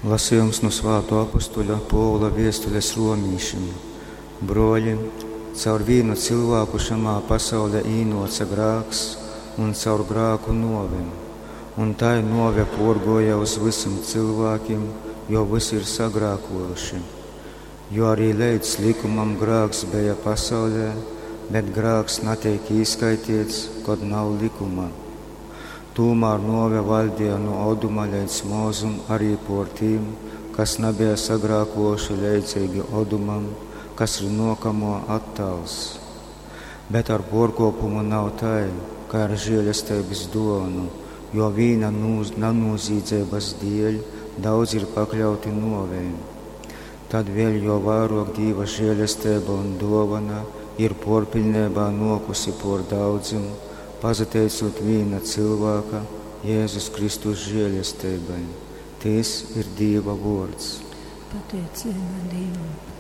Lasījums nu svātō apustuļa Pōvula viestules romīšim. Brōļi, caur vīnu cylvāku šamā pasaulē īnōce grāks, un caur grāku nōve. Un tai nōve pōrgōja uz vysim cylvākim, jo vysi ir sagrākōjuši. Jo arī leidz lykumam grāks beja pasaulē, bet grāks nateik īskaiteits, kod nav lykuma. Tūmār nōve vaļdeja nu Oduma leidz Mozum arī pōr tim, kas nabeja sagrākōjuši leidzeigi Odumam, kas ir nōkamō attāls. Bet ar pōrkōpumu nav tai, kai ar želesteibys dōvonu, jo vīna nanūzīdzeibys dieļ daudzi ir pakļauti nōvei. Tad vēļ jo vairōk Dīva žēlesteiba un dōvona ir pōrpiļneibā nōkusi pōr daudzim, pasateicūt vīna cylvāka, Jēzus Kristus žēlesteibai. Tys ir Dīva vōrds. Pateiceiba Dīvam.